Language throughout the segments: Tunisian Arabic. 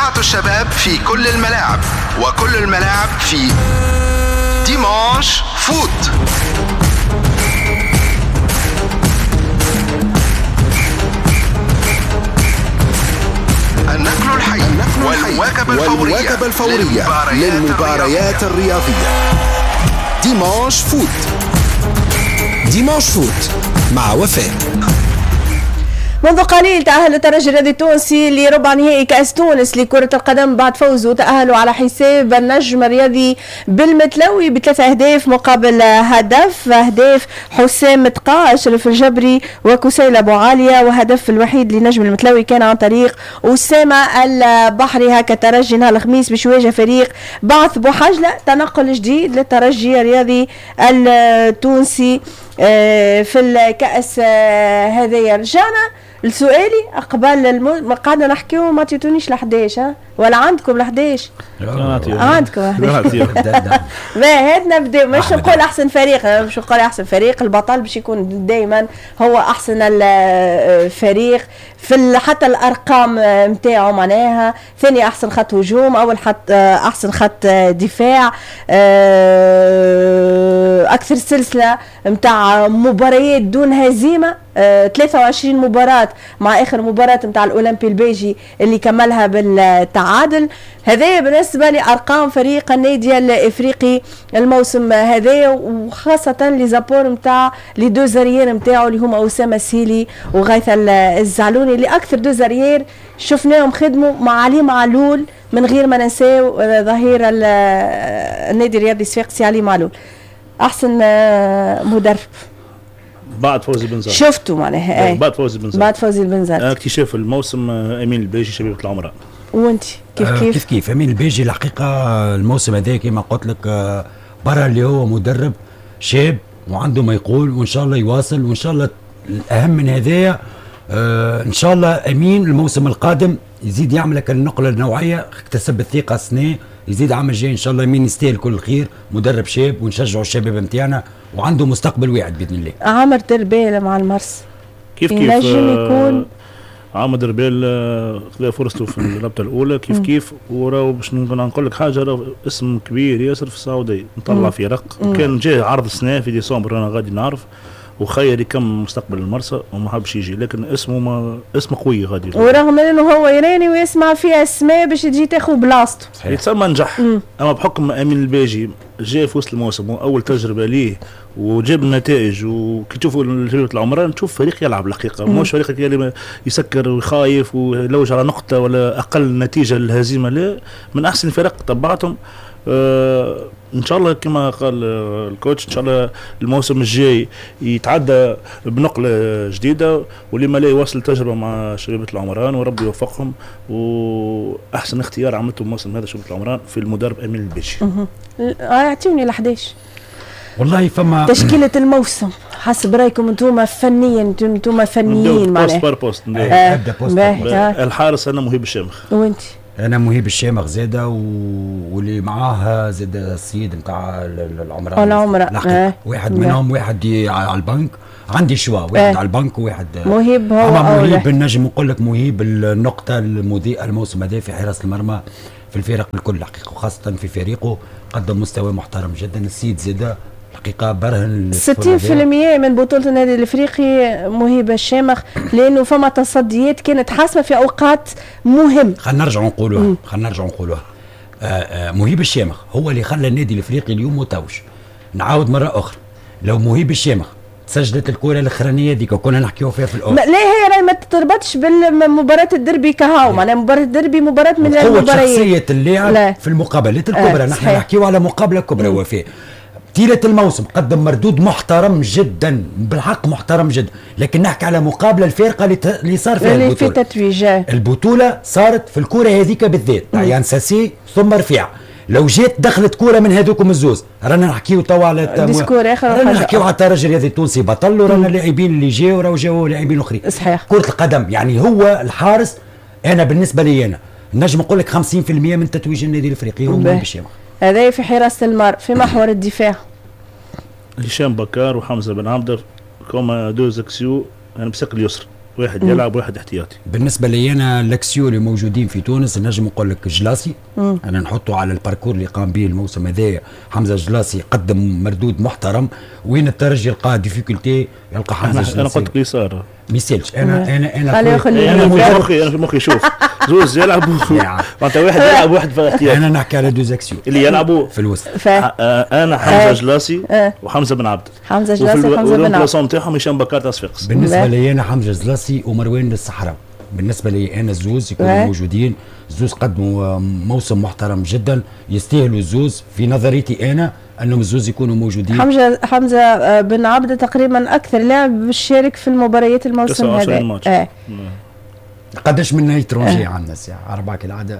مشجعة الشباب في كل الملاعب، وكل الملاعب في Dimanche Foot. النقل الحي والمواكبة الفورية للمباريات الرياضية. Dimanche Foot. Dimanche Foot مع وفاء. منذ قليل تأهل الترجي الرياضي التونسي لربع نهائي كأس تونس لكرة القدم بعد فوزه تأهلوا على حساب النجم الرياضي بالمتلوي ب3 أهداف مقابل هدف، أهداف حسام تقا، أشرف الجبري وكسيل أبو عالية، وهدف الوحيد لنجم المتلوي كان عن طريق أسامة البحري. هكا الترجي نهار الخميس باش يواجه فريق بعث بوحجلة، تنقل جديد للترجي الرياضي التونسي في الكأس هذايا. رجعنا لسؤالي قبل ما قعدنا نحكيو ما عطيتونيش ل 11 ولا عندكم ل 11؟ عندكم 11. هات نبدا، مش نقول احسن فريق، مش نقول احسن فريق، البطل باش يكون دائما هو احسن الفريق في حتى الارقام نتاعو، معناها ثاني احسن خط هجوم، اول خط احسن خط دفاع، اكثر سلسلة نتاع مباريات دون هزيمة، 23 مباراة مع اخر مباراة نتاع الاولمبي الباجي اللي كملها بالتعادل. هذا بالنسبة لارقام فريق النادي الافريقي الموسم هذا، وخاصة les apports نتاع les deux arrières نتاعو اللي هما اسامة السيلي وغيث الزعلوني، اللي اكثر deux arrières شفناهم خدموا مع علي معلول، من غير ما ننساو ظهير النادي الرياضي الصفاقسي علي معلول. احسن مدرب بعد فوزي البنزرتي شفتوا معناها؟ بعد فوزي البنزرتي. بعد فوزي البنزرتي. اكتشاف الموسم امين الباجي، شبيبة العمران. وانت كيف؟ كيف كيف كيف، امين الباجي الحقيقة الموسم هذا كما قلت لك برا اللي هو مدرب شاب وعنده ما يقول، وان شاء الله يواصل، وان شاء الله الاهم من هذايا ان شاء الله امين الموسم القادم يزيد يعمل لك النقلة النوعيه. اكتسب الثقة السنه، يزيد عام الجاي ان شاء الله. امين يستاهل كل الخير، مدرب شاب ونشجعوا الشباب نتاعنا وعنده مستقبل واعد باذن الله. عامر دربال مع المرس. كيف كيف. ينجم يكون عامر دربال خذا فرصته في الرابطة الاولى كيف كيف، وراهو باش نقول لك حاجه، راهو اسم كبير ياسر في السعوديه، نطلع فرق. كان جاء عرض السنة في ديسمبر، انا غادي نعرف وخير يكمل مستقبل المرسى وما حبش يجي، لكن اسمه ما اسمه قوي غادي. ورغم انه هو يراني ويسمع فيها اسماء باش تجي تاخذ بلاصته. يتسمى نجح، اما بحكم امين الباجي جاء في وسط الموسم واول تجربه ليه وجاب النتائج، وكي تشوفوا شبيبة العمران تشوف فريق يلعب الحقيقه، مش فريق اللي يسكر ويخايف ويلوج على نقطة ولا اقل نتيجة للهزيمه. لا، من احسن الفرق تبعتهم. ان شاء الله كما قال ال coach، ان شاء الله الموسم الجاي يتعدى بنقله جديده، ولما لا يواصل تجربه مع شبيبة العمران وربي يوفقهم. واحسن اختيار عملته الموسم هذا شبيبة العمران في المدرب امين البيجي. اعطيوني ال 11. والله فما تشكيله الموسم حسب رايكم انتم فنيا، انتم فنيين. معناها poste par poste. نبدا poste. الحارس انا مهيب الشامخ. وانت؟ انا مهيب الشامخ زاده، واللي معاه زاد السيد نتاع العمران. العمران. واحد منهم، واحد على البنك، عندي choix، واحد على البنك وواحد. مهيب هو. مهيب نجم نقول لك مهيب النقطة المضيئة الموسم هذا في حراسة المرمى في الفرق الكل الحقيقه، وخاصة في فريقه قدم مستوى محترم جدا. السيد زاده الحقيقة برهن. 60% من بطوله النادي الافريقي مهيب الشامخ، لانه فما تصديات كانت حاسمة في اوقات مهم. خلينا نرجع نقولوها، خلينا نرجع نقولوها، مهيب الشامخ هو اللي خلى النادي الافريقي اليوم متوج. نعاود مرة اخرى، لو مهيب الشامخ سجلت الكره الاخرانية ديك وكنا نحكيو فيها في الاول. لا، هي راهي ما تربطش بالمباراة الدربي كهو، معناها مباراة الدربي مباراة من المباريات. شخصية اللاعب في المقابلات الكبرى. نحن نحكيو على مقابله كبرى وفاء. طيلة الموسم قدم مردود محترم جدا، بالحق محترم جدا، لكن نحكي على مقابلة الفارقة اللي صار فيها. اللي في تتويج. البطولة صارت في الكرة هذيك بالذات تاع يان ساسي ثم رفيع. لو جات دخلت كورة من هذوكم الزوز رانا نحكيو توا على discours اخر. رانا نحكيو على الترجي الرياضي التونسي بطل، ورانا اللاعبين اللي جاوا راهو جاوا لاعبين اخرين. كرة القدم يعني هو الحارس، انا بالنسبة لي انا نجم نقول لك 50% من تتويج النادي الافريقي هو مهيب الشامخ. هذا في حراسة المرمى. في محور الدفاع؟ هشام بكار وحمزة بن عبده comme deux axiaux، انا بساق اليسر. واحد يلعب واحد احتياطي. بالنسبة لي انا les axiaux اللي موجودين في تونس نجم نقول لك جلاسي، انا نحطه على ال parcours اللي قام به الموسم هذايا. حمزة جلاسي قدم مردود محترم، وين الترجي يلقى difficulté يلقى حمزة جلاسي. انا قلت لك اليسار ما يسالش. انا انا انا انا في مخي، انا في مخي شوف زوز يلعبوا معناتها واحد يلعب واحد في الاحتياط. انا نحكي على deux axiaux اللي يلعبوا في الوسط. انا حمزة جلاسي وحمزة بن عبد. حمزة جلاسي وحمزة بن عبد نتاعهم هشام بكار تاع صفاقس. بالنسبة لي انا حمزة جلاسي ومروان الصحراء، بالنسبة لي انا الزوز يكونوا موجودين. الزوز قدموا موسم محترم جدا، يستاهلوا الزوز في نظريتي انا انهم الزوز يكونوا موجودين. حمزة بن عبده تقريبا اكثر لاعب شارك في المباريات الموسم هذا. قداش من étrangers عندنا ساعة؟ اربعة كالعادة.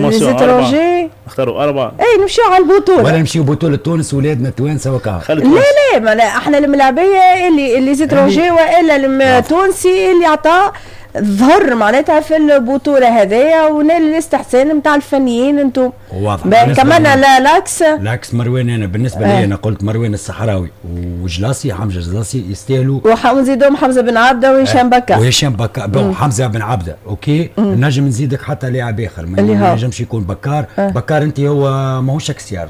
les étrangers اختاروا اربعة. اي نمشيو على البطولة ولا نمشيو بطوله تونس ولادنا التوانسة وكا. لا لا ما احنا الملاعبيه اللي les étrangers والا التونسي اللي عطاه ظهر معناتها في البطولة هذايا ونال الاستحسان نتاع الفنيين انتم. واضح. كمان l'axe l'axe مروان، انا بالنسبة لي انا قلت مروان الصحراوي وجلاسي، حمزة جلاسي يستاهلوا، ونزيدهم حمزة بن عبده وهشام بكا. وهشام بكا bon حمزة بن عبده OK. نجم نزيدك حتى لاعب اخر، ما نجمش يكون بكار. بكار انت هو ماهوش axial،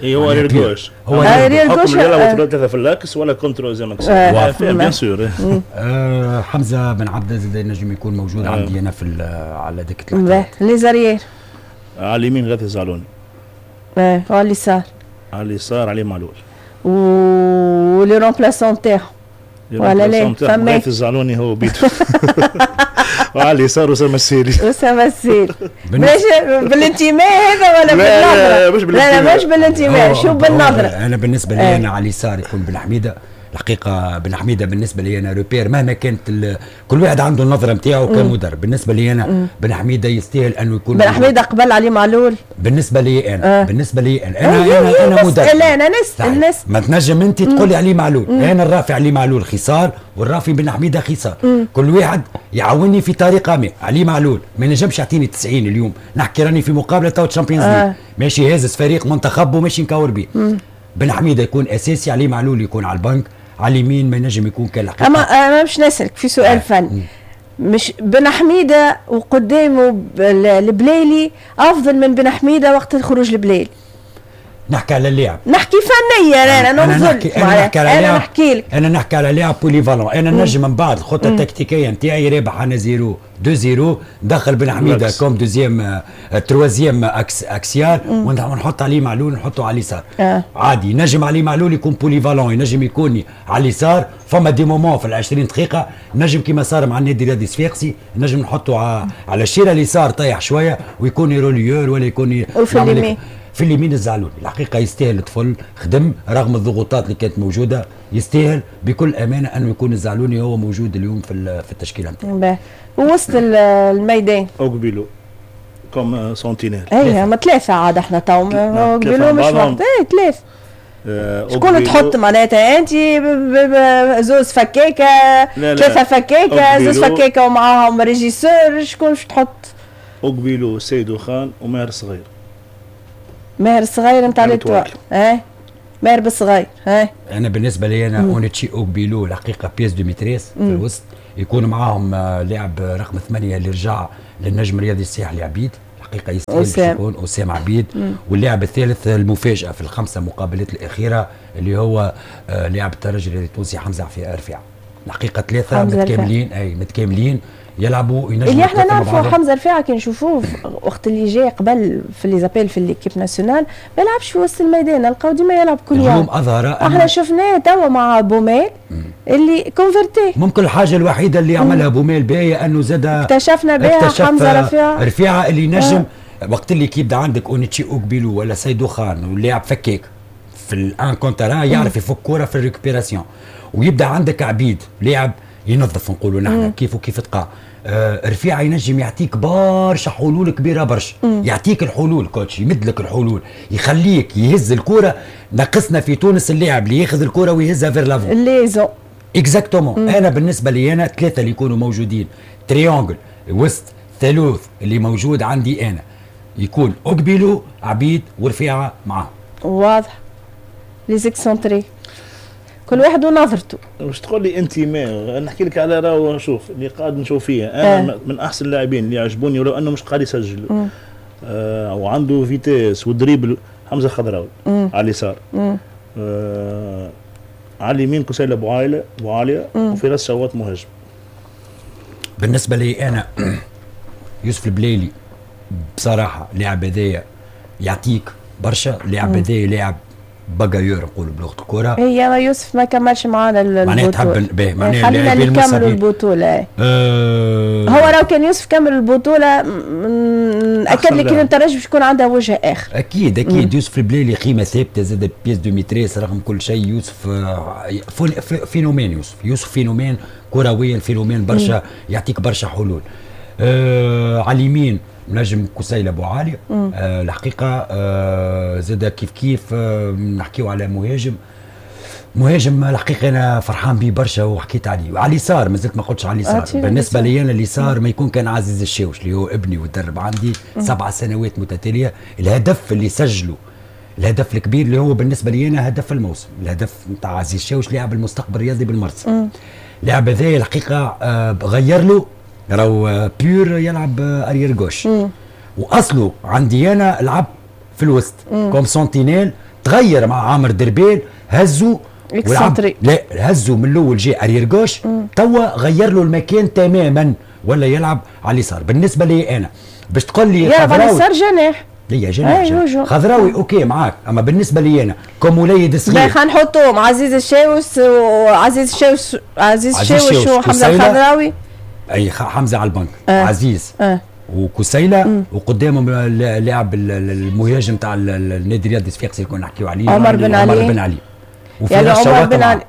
هو arrière gauche، هو arrière gauche يلعبوا ثلاثة في l'axe ولا comme troisième axial bien sûr. حمزة بن عبده زاد نجم يكون موجود عندي انا في على دكه الاحتياط. les arrières على اليمين غاثي الزعلوني، وعلى اليسار، على اليسار علي معلول، و les remplaçants تاعو ولا لا؟ فما غاثي الزعلوني هو بيتو وعلى اليسار اسامة السيري. اسامة السيري بالانتماء هذا ولا بالنظرة؟ لا مش بالانتماء، لا مش بالانتماء، شو بالنظرة؟ انا بالنسبة لي انا على اليسار يكون بن حميده. الحقيقة بن حميده بالنسبة لي انا repère، مهما كانت كل واحد عنده النظرة نتاعو كمدرب. بالنسبة لي انا بن حميده يستاهل انه يكون بن حميده قبل علي معلول. بالنسبة لي انا بالنسبة لي انا انا انا مدرب. لا انا نسال ما تنجم انت تقول لي علي معلول. انا الرافع علي معلول خسار والرافي بن حميده خسار. كل واحد يعاوني في طريقه ما. علي معلول ما نجمش يعطيني 90 اليوم، نحكي راني في مقابله تو Champions League، ماشي هازز فريق منتخب وماشي نكور بيه. بن حميده يكون اساسي، علي معلول يكون على البنك، على اليمين ما ينجم يكون كان الحقيقة. اما انا مش نسالك في سؤال فني، مش بن حميده وقدامه البليلي افضل من بن حميده وقت الخروج البليلي؟ نحكي على اللاعب، نحكي فنيا انا نحكي انا نحكي لك، انا نحكي على لاعب polyvalent. انا نجم من بعد الخطة التكتيكيه نتاعي رابح انا 0 2 0 دخل بن حميده comme deuxième troisième axial ونحط عليه معلول، نحطه على اليسار. عادي نجم عليه معلول يكون polyvalent، ينجم يكون على اليسار. فما des moments في ال 20 دقيقة نجم كيما صار مع النادي الرياضي الصفاقسي نجم نحطه على الشيره اليسار طايح شوية ويكون relayeur ولا يكون وفي اليمين. في اليمين الزعلوني الحقيقة يستاهل الطفل، خدم رغم الضغوطات اللي كانت موجودة، يستاهل بكل امانه انه يكون الزعلوني هو موجود اليوم في التشكيلة نتاعو. وسط الميدان اوكبيلو comme sentinelle. اي هما ثلاثة عاد احنا تو اوكبيلو مش واحد، اي ثلاثة. شكون تحط معناتها انت؟ زوز فكاكه، ثلاثة فكاكه، زوز فكاكه ومعاهم régisseur، شكون باش تحط؟ اوكبيلو سيدو خان وماهر صغير. ماهر الصغير نتاع l'Étoile، اه ماهر بالصغير. اه انا بالنسبة لي انا اونيتشي اوكبيلو الحقيقة pièce de maîtresse في الوسط، يكون معاهم لاعب رقم 8 اللي رجع للنجم الرياضي الساحلي عبيد، الحقيقة يستاهل يكون اسامة عبيد. واللاعب الثالث المفاجاة في الخمسة مقابلات الاخيرة اللي هو لاعب الترجي الرياضي التونسي حمزة رفيعة. الحقيقة ثلاثة متكاملين، اي متكاملين يلعبوا ينجموا. اللي احنا نعرفوا حمزة رفيعة كي نشوفوه وقت اللي جاي قبل في les appels في l'équipe nationale ما يلعبش في وسط الميدان، نلقاو ديما يلعب couloir. اليوم اظهر احنا شفناه توا مع بوميل اللي converti. ممكن الحاجة الوحيدة اللي عملها بوميل باهيه انه زاد اكتشفنا بها حمزة رفيعة، رفيعة اللي نجم وقت اللي كي يبدا عندك اونيتشي اوكبيلو ولا سيدو خان واللاعب فكاك في ال un contre un يعرف يفك كورة في ال récupération، ويبدا عندك عبيد لاعب ينظف نقولوا نحن كيف وكيف تقع. رفيعة ينجم يعطيك برشا حلول كبيرة برشا، يعطيك الحلول coach، يمد لك الحلول، يخليك يهز الكره. ناقصنا في تونس اللاعب اللي ياخذ الكره ويهزها vers l'avant liaison exactement. انا بالنسبة لي انا ثلاثة اللي يكونوا موجودين triangle وسط ثالوث اللي موجود عندي انا يكون اوكبيلو عبيد ورفيعه معاه. واضح les excentrés كل واحد ونظرته. مش تقول لي انتماء، انا نحكي لك على راهو شوف اللي قاعد نشوف فيه انا من احسن اللاعبين اللي عجبوني ولو انه مش قاعد يسجل وعنده vitesse و dribble، حمزة خضراوي على اليسار، على اليمين كسيلة بوعالية وفراس شواط مهاجم. بالنسبة لي انا يوسف البليلي بصراحة لاعب هذايا يعطيك برشا، لاعب هذايا لاعب bagarreur نقولوا بلغه الكره. هي ما يوسف ما كملش معنا البطولة، معناها تحب به معناها خلينا نكملوا البطولة. هو لو كان يوسف كمل البطولة اكد لك ان الترجي باش يكون عندها وجه اخر. اكيد اكيد. يوسف البليلي قيمة ثابتة زاد pièce de maîtresse رغم كل شيء. يوسف phénomène، يوسف phénomène كرويا، phénomène برشا، يعطيك برشا حلول. على اليمين نجم كسيلة ابو عالي. الحقيقة زاد كيف كيف نحكيو على مهاجم الحقيقة انا فرحان به برشا وحكيت عليه. على اليسار مازلت ما قلتش على اليسار. بالنسبة لي انا اليسار ما يكون كان عزيز الشاوش اللي هو ابني وتدرب عندي 7 سنوات متتالية. الهدف اللي سجله، الهدف الكبير اللي هو بالنسبة لي انا هدف الموسم، الهدف نتاع عزيز الشاوش لاعب المستقبل الرياضي بالمرسى. لاعب هذايا الحقيقة غير له راهو pur يلعب arrière gauche، واصله عندي انا لعب في الوسط comme sentinelle، تغير مع عامر دربيل هزو ولعب، لا هزو من الاول جاي arrière gauche، توا غير له المكان تماما ولا يلعب على اليسار. بالنسبة لي انا باش تقول لي يلعب على اليسار جناح، ليا جناح خضراوي OK معاك، اما بالنسبة لي انا comme وليد صغير خلينا نحطوهم عزيز الشاوش وعزيز الشاوش، عزيز الشاوش وحمزة الخضراوي. اي حمزة على البنك، عزيز وكسيله، وقدامهم اللاعب المهاجم تاع النادي الرياضي الصفاقسي اللي كنا نحكيو عليه عمر بن علي. عمر بن علي وفراس شواط علي.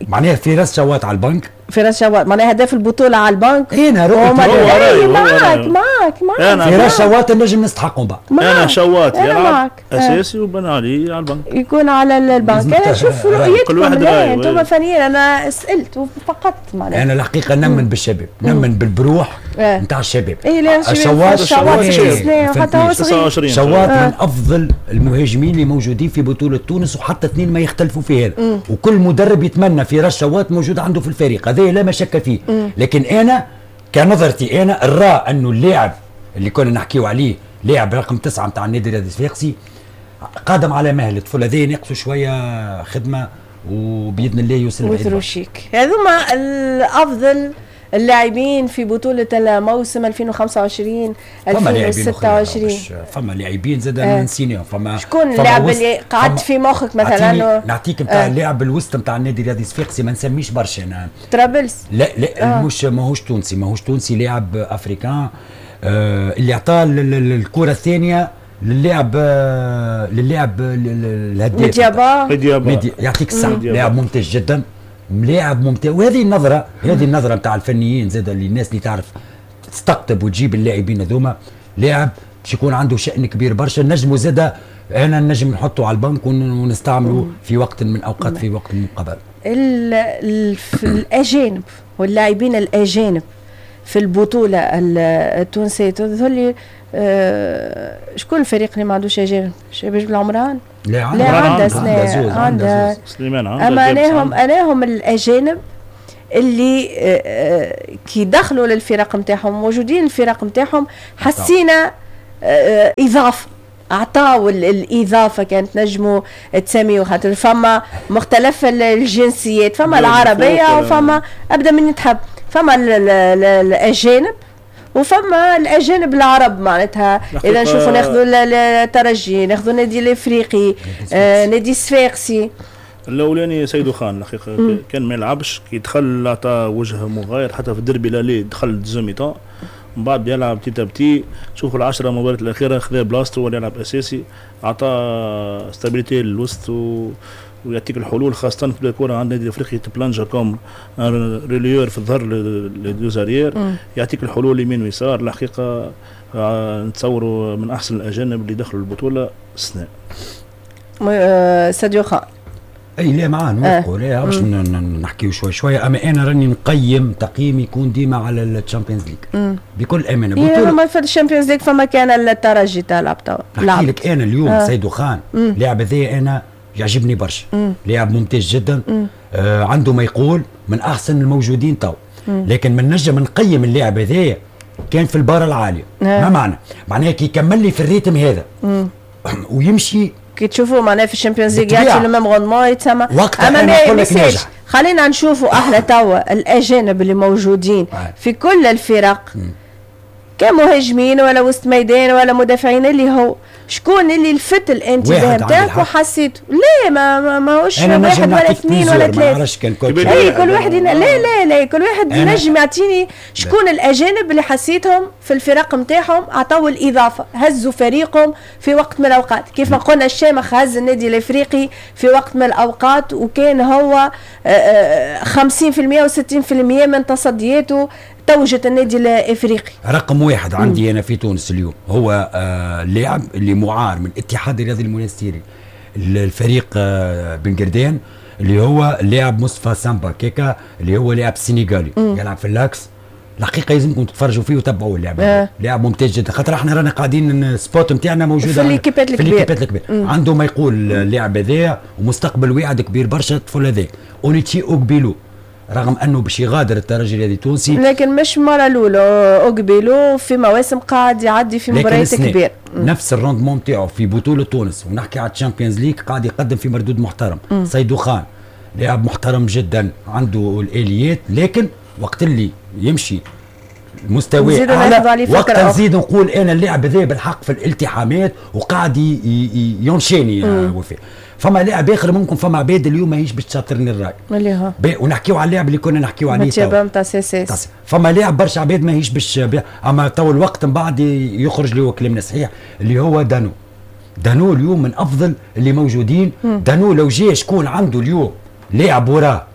معناها فراس شواط على البنك، فراس شواط معناها هداف البطولة على البنك. انا رؤيتي معاك معاك معاك فراس شواط نجم نستحقهم بعد. انا شواط يلعب اساسي وبن علي على البنك، يكون على البنك. انا نشوف رؤيتكم، انتم فنيين، انا سالت فقط معناها. انا الحقيقة نمن بالشباب، نمن بالبروح نتاع الشباب. اي لا شواط حتى هو صغير، شواط من افضل المهاجمين اللي موجودين في بطوله تونس، وحتى اثنين ما يختلفوا في هذا، وكل مدرب يتمنى فراس شواط موجود عنده في الفريق، هذا لا مشك فيه. لكن انا كنظرتي انا نرى انه اللاعب اللي كنا نحكيو عليه لاعب رقم 9 نتاع النادي الرياضي الصفاقسي قادم على مهل، الطفل هذا ينقصوا شوية خدمة وباذن الله يوصل بعيد. وتروشيك هذوما الافضل اللاعبين في بطولة الموسم 2025 2026. فما لاعبين زاد نسيناهم. فما شكون اللاعب اللي قعدت في مخك مثلا؟ نعطيك نتاع اللاعب الوسط نتاع النادي الرياضي الصفاقسي ما نسميش برشا انا. طرابلس؟ لا لا مش ماهوش تونسي، ماهوش تونسي، لاعب africain اللي عطاه الكرة الثانية للاعب الهداف مديابا. يعطيك الصحة، لاعب ممتاز جدا، لاعب ممتاز. وهذه النظرة، هذه النظرة نتاع الفنيين زاد اللي الناس اللي تعرف تستقطب وتجيب اللاعبين هذوما، لاعب باش يكون عنده شأن كبير برشا، نجمو زاد انا نجم نحطه على البنك ونستعمله في وقت من اوقات في وقت من قبل. الاجانب واللاعبين الاجانب في البطولة التونسية تظهر لي شكون الفريق اللي ما عندوش اجانب؟ شباب العمران؟ لا عندها سنة، عندها سليمان، عندها. اما اناهم الاجانب اللي كي دخلوا للفرق نتاعهم موجودين الفرق نتاعهم، حسينا اضافه، اعطاو الاضافة كانت نجموا تسميو، خاطر فما مختلف الجنسيات، فما العربية وفما ابدا من تحب، فما الاجانب وفما الاجانب العرب. معناتها اذا نشوفوا ناخذوا الترجي، ناخذوا النادي الافريقي، نادي الصفاقسي. الاولاني سيدو خان الحقيقة كان ما يلعبش، كي دخل عطى وجه مغاير، حتى في الدربي l'aller دخل deuxième mi-temps، من بعد يلعب petit à petit. شوفوا العشرة مباريات الاخيرة خذا بلاصته ولا يلعب اساسي، عطى stabilité للوسط ويعطيك الحلول، خاصة في الكره عند النادي الافريقي تبلانجا comme relayeur في الظهر les deux arrières، يعطيك الحلول يمين ويسار. الحقيقة نتصوروا من احسن الاجانب اللي دخلوا البطولة السنة. ساديو خان. اي لا معاه نوافقوا، لا باش نحكيو شوي شوية، اما انا راني نقيم تقييم يكون ديما على ال Champions League بكل امانه. بطوله ما في ال Champions League فما كان الترجي تلعب توا. نحكي لك انا اليوم سيدو خان لاعب هذايا انا يعجبني برشا، لاعب ممتاز جدا. عنده ما يقول، من احسن الموجودين تو. لكن من نجم نقيم اللاعب هذايا كان في ال barre العالية. ما معنى؟ معناها كي يكمل لي في ال rythme هذا ويمشي كي تشوفوا معناها في ال Champions League يعطي le même rendement يتسمى. اما ما نقول خلينا نشوفوا احنا توا الاجانب اللي موجودين في كل الفرق كمهاجمين ولا وسط ميدان ولا مدافعين، اللي هو شكون اللي لفت الانتباه نتاعك وحسيت لا ما ماهوش واحد ولا اثنين ولا ثلاثة. اي كل واحد لا لا لا كل واحد ينجم يعطيني شكون الاجانب اللي حسيتهم في الفرق نتاعهم عطاو الاضافة، هزوا فريقهم في وقت من الاوقات، كيف ما قلنا الشامخ هز النادي الافريقي في وقت من الاوقات وكان هو 50% و60% من تصدياته توجت النادي الافريقي. رقم واحد عندي انا في تونس اليوم هو اللاعب اللي معار من الاتحاد الرياضي المونستيري الفريق بن قردان، اللي هو اللاعب مصطفى سامبا كيكا، اللي هو لاعب سنغالي يلعب في l'axe. الحقيقة لازمكم تتفرجوا فيه وتبعوه اللاعب، لاعب ممتاز جدا، خاطر احنا رانا قاعدين ال spot نتاعنا موجودة في l'équipe ات الكبير. عنده ما يقول اللاعب هذايا ومستقبل واعد كبير برشا الطفل هذا. اونيتشي اوكبيلو رغم انه باش يغادر الترجي الرياضي التونسي، لكن مش مرة الاولى اوكبيلو في مواسم قاعد يعدي في مباريات كبيرة نفس ال rendement نتاعو في بطوله تونس، ونحكي على ال Champions League قاعد يقدم في مردود محترم. سيدو خان لاعب محترم جدا، عنده الاليات، لكن وقت اللي يمشي مستواه اعلى وقت نزيد نقول انا اللاعب هذا بالحق في الالتحامات وقاعد ينشيني وفاء. فما لاعب اخر ممكن فما عباد اليوم ماهيش باش تشاطرني الراي اللي هو ونحكيو على اللاعب اللي كنا نحكيو عليه تو نتاع CSS. فما لاعب برشا عباد ماهيش باش، اما تو الوقت من بعد يخرج اللي هو كلامنا صحيح، اللي هو دانو. دانو اليوم من افضل اللي موجودين. دانو لو جا شكون عنده اليوم لاعب وراه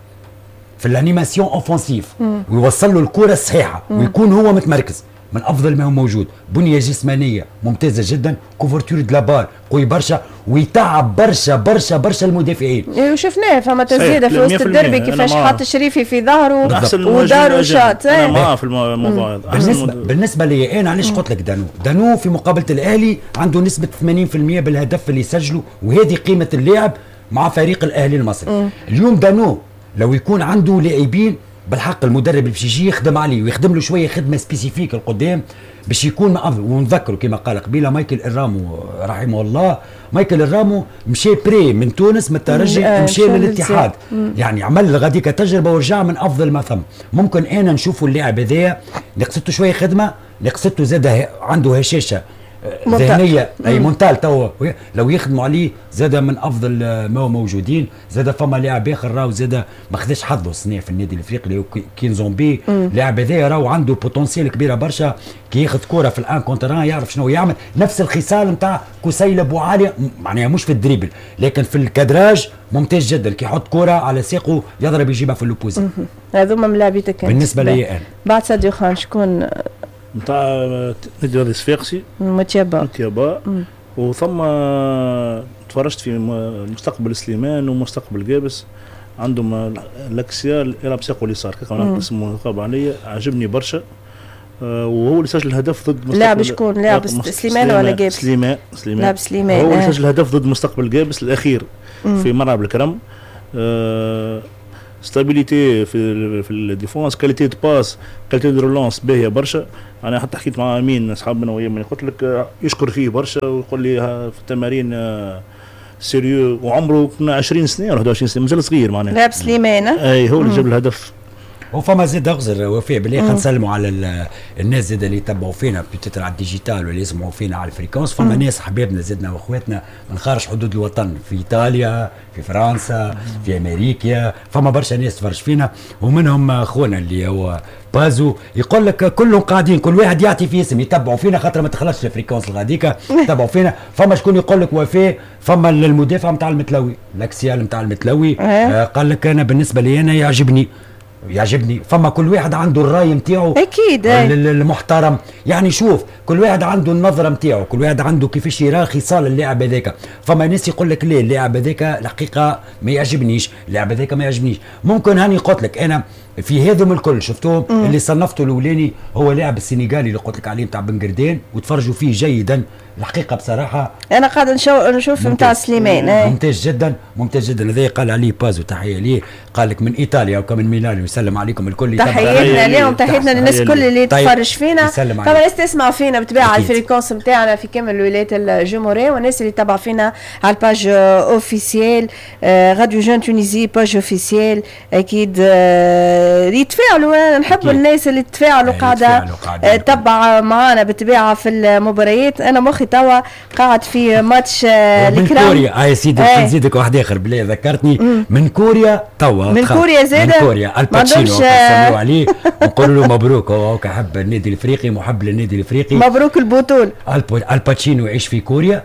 في l'animation offensive ويوصل له الكره الصحيحة ويكون هو متمركز، من افضل ما هو موجود. بنيه جسمانيه ممتازة جدا، couverture de la balle قوي برشا ويتعب برشا برشا برشا المدافعين. وشفناه فما تسديده في وسط الدربي كيفاش حط شريفي في ظهره ودارو شاط. انا معاه في الموضوع هذا. بالنسبة لي انا علاش قلت لك دانو؟ دانو في مقابله الاهلي عنده نسبه 80% بالهدف اللي سجله، وهذه قيمة اللاعب مع فريق الاهلي المصري. اليوم دانو لو يكون عنده لاعبين بالحق المدرب اللي باش يجي يخدم عليه ويخدم له شوية خدمة spécifique القدام باش يكون افضل. ونذكروا كما قال قبيلة مايكل الرامو رحمه الله، مايكل الرامو مشى prêt من تونس من الترجي مشى للاتحاد، يعني عمل غاديك تجربه ورجع من افضل ما ثم. ممكن انا نشوفوا اللاعب هذايا نقصته شوية خدمة، نقصته زاد عنده هشاشة ذهنية اي mental تو لو يخدموا عليه زاد من افضل ما هو موجودين. زاد فما لاعب اخر راهو زاد ما خداش حظه السنة في النادي الافريقي اللي هو كينزومبي. لاعب هذايا راهو عنده potentiel كبيرة برشا، كي ياخذ كورة في ال un contre un يعرف شنو يعمل، نفس الخصال نتاع كسيل ابو عالي، معناها مش في ال dribble لكن في ال cadrage ممتاز جدا، كي يحط كورة على ساقه يضرب يجيبها في l'opposé. هذوما ملاعبيتك بالنسبة لي انا. بعد ساديو خان شكون؟ نتاع نادي الرياضي الصفاقسي متيابا. وثم تفرجت في مستقبل سليمان ومستقبل قابس، عندهم l'axial يلعب ساقه اليسار كيف اسمه غاب عليا، عجبني برشا. وهو اللي سجل الهدف ضد مستقبل. لاعب شكون؟ لاعب سليمان ولا قابس؟ سليمان. لاعب سليمان هو اللي سجل الهدف ضد مستقبل قابس الاخير في ملعب الكرم. stabilité في ال défense، qualité de passe، qualité de relance باهيه برشا. انا حتى حكيت مع امين اصحابنا ويا قلت لك يشكر فيه برشا ويقول لي في التمارين sérieux، وعمره 20 سنة ولا 21 سنة، مازال صغير معناها. لاعب سليمان اي هو اللي جاب الهدف. وفما زاد اغزر وفاء بالله، خلينا نسلموا على الناس زاد اللي يتبعوا فينا peut-être على ال digital واللي يسمعوا فينا على ال fréquence. فما ناس حبابنا زدنا واخواتنا من خارج حدود الوطن، في ايطاليا، في فرنسا، في امريكا، فما برشا ناس تفرج فينا، ومنهم خونا اللي هو بازو يقول لك كلهم قاعدين كل واحد يعطي في اسم يتبعوا فينا خاطر ما تخلصش ال fréquence الغاديكا يتبعوا فينا. فما شكون يقول لك وفاء، فما المدافع نتاع المتلوي، l'axial نتاع المتلوي قال لك انا بالنسبة لي انا يعجبني. فما كل واحد عنده الراي نتاعو اكيد المحترم، يعني شوف كل واحد عنده النظرة نتاعو، كل واحد عنده كيفاش يرى خصال اللاعب هذاك. فما ناس يقول لك ليه اللاعب هذاك الحقيقة ما يعجبنيش، اللاعب هذاك ما يعجبنيش. ممكن هاني قلت لك انا في هذم الكل شفتوهم. اللي صنفته الاولاني هو لاعب السنغالي اللي قلت لك عليه نتاع بنقردين، وتفرجوا فيه جيدا الحقيقة بصراحة. انا قاعد نشوف نتاع سليمان. ممتاز جدا ممتاز جدا. هذا قال عليه بازو، تحية ليه، قال لك من ايطاليا وكمن ميلانو، يسلم عليكم الكل. تحياتنا لهم، تحياتنا للناس الكل اللي تتفرج فينا. طبعا الناس تسمع فينا بالطبيعة على ال fréquence نتاعنا في كامل الولايات الجمهوريه، والناس اللي تبع فينا على ال page officielle Radio Jeune Tunisie، page officielle، اكيد يتفاعلوا. نحب الناس اللي تفاعلوا قاعدة تبع معنا بالطبيعة في المباريات. انا مخي توا قاعد في ماتش الكرام من كوريا. يا سيدي نزيدك واحد اخر بالله ذكرتني. من كوريا توا، من كوريا زاده، من كوريا الباتشينو نسميو عليه ونقول له مبروك، هو كحب النادي الافريقي، محب للنادي الافريقي، مبروك البطولة. الباتشينو يعيش في كوريا،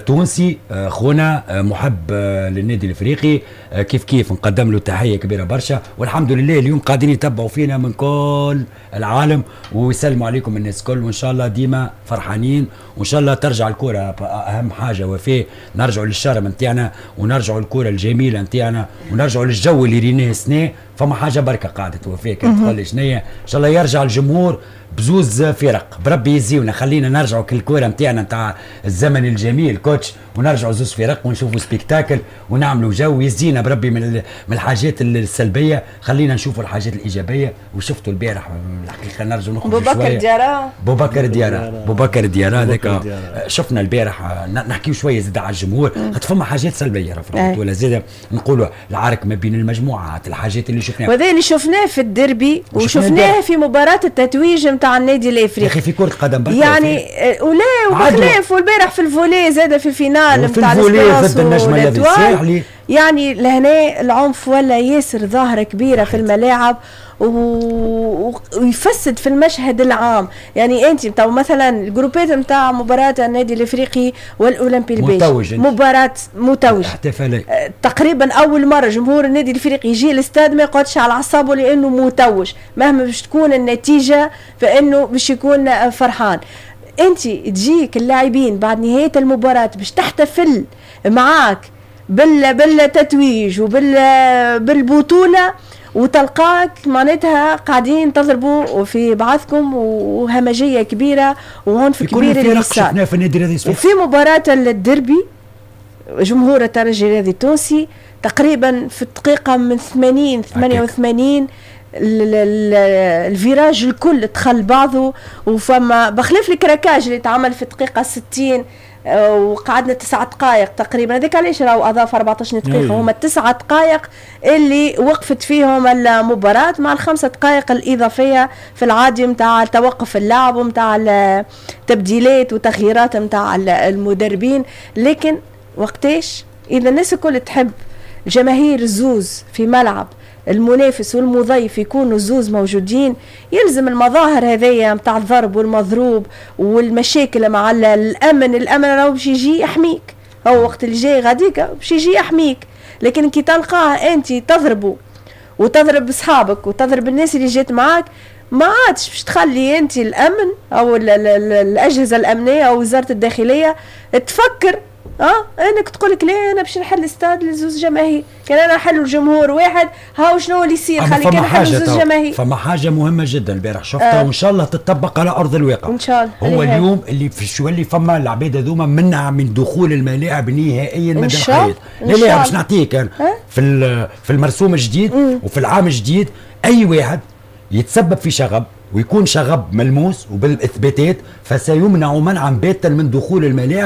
تونسي، خونا، محب للنادي الافريقي، كيف كيف نقدم له تحية كبيرة برشا. والحمد لله اليوم قاعدين يتبعوا فينا من كل العالم ويسلموا عليكم الناس كل، وان شاء الله ديما فرحانين، وان شاء الله ترجع الكره اهم حاجة وفاء، نرجعوا لل charme نتاعنا ونرجعوا الكره الجميلة نتاعنا ونرجعوا للجو اللي ريناه السنة. فما حاجة بركة قاعدة وفاء كانت تقول لي شنيا، ان شاء الله يرجع الجمهور بزوز فرق بربي يزيونا، خلينا نرجعوا كالكوره نتاعنا نتاع الزمن الجميل coach، ونرجعوا زوز فرق ونشوفوا spectacle ونعملوا جو يزينا بربي من الحاجات السلبية، خلينا نشوفوا الحاجات الايجابية. وشفتوا البارح الحقيقة نرجعوا نخرجوا شوية. بوبكر ديارا، بوبكر ديارا، بوبكر ديارا هذاك شفنا البارح. نحكيو شوية زاد على الجمهور، خاطر فما حاجات سلبية في البطولة زاد، نقولوا العرك ما بين المجموعات، الحاجات اللي شفناها، وهذا اللي شفناه في الديربي وشفناه في مباراة التتويج نتاع النادي الافريقي. يا اخي في كره قدم يعني ولا وبخلاف، والبارح في ال volley زاد في ال finale نتاع ال volley ضد النجم الساحلي. يعني لهنا العنف ولا ياسر ظاهره كبيرة في الملاعب ويفسد في المشهد العام. يعني انت تو مثلا الجروبات نتاع مباراة النادي الافريقي والاولمبي الباجي، مباراة متوج تقريبا اول مرة جمهور النادي الافريقي يجي الاستاد ما يقعدش على اعصابه لانه متوج، مهما باش تكون النتيجة فانه باش يكون فرحان. انت تجيك اللاعبين بعد نهاية المباراة باش تحتفل معاك بالتتويج وبالبطوله، وتلقاك معناتها قاعدين تضربوا في بعضكم وهمجيه كبيرة وعنف كبير اللي صار في النادي الرياضي. وفي مباراة الديربي جمهور الترجي الرياضي التونسي تقريبا في الدقيقة من 80 88 ال virage الكل دخل بعضه، وفما بخلاف ال craquage اللي تعمل في الدقيقة 60 وقعدنا 9 دقائق تقريبا، هذاك علاش راهو اضاف 14 دقيقة، هما 9 دقائق اللي وقفت فيهم المباراة مع ال5 دقائق الاضافية في العادي نتاع توقف اللعب ونتاع التبديلات وتغييرات نتاع المدربين. لكن وقتاش اذا الناس الكل تحب الجماهير الزوز في ملعب المنافس والمضيف يكونوا زوز موجودين، يلزم المظاهر هذيا نتاع الضرب والمضروب والمشاكل مع الامن. الامن راهو باش يجي يحميك، هو وقت اللي جاي غاديك باش يجي يحميك، لكن كي تلقاه انت تضربه وتضرب اصحابك وتضرب الناس اللي جات معاك، ما عادش باش تخلي انت الامن او الاجهزة الامنية او وزارة الداخلية تفكر انك تقول لك لا انا باش نحل استاد لزوز جماهير، كان انا نحل الجمهور واحد هاو شنو اللي يصير، خلي كان نحل زوز جماهير. فما حاجة مهمة جدا البارح شفتها وان شاء الله تطبق على ارض الواقع ان شاء الله. هو اليوم اللي في شو اللي فما العباد هذوما منع من دخول الملاعب نهائيا مدى الحياة. لا لا باش نعطيك أنا في المرسوم الجديد وفي العام الجديد اي واحد يتسبب في شغب ويكون شغب ملموس وبالاثباتات فسيمنع منعا باتا من دخول الملاعب.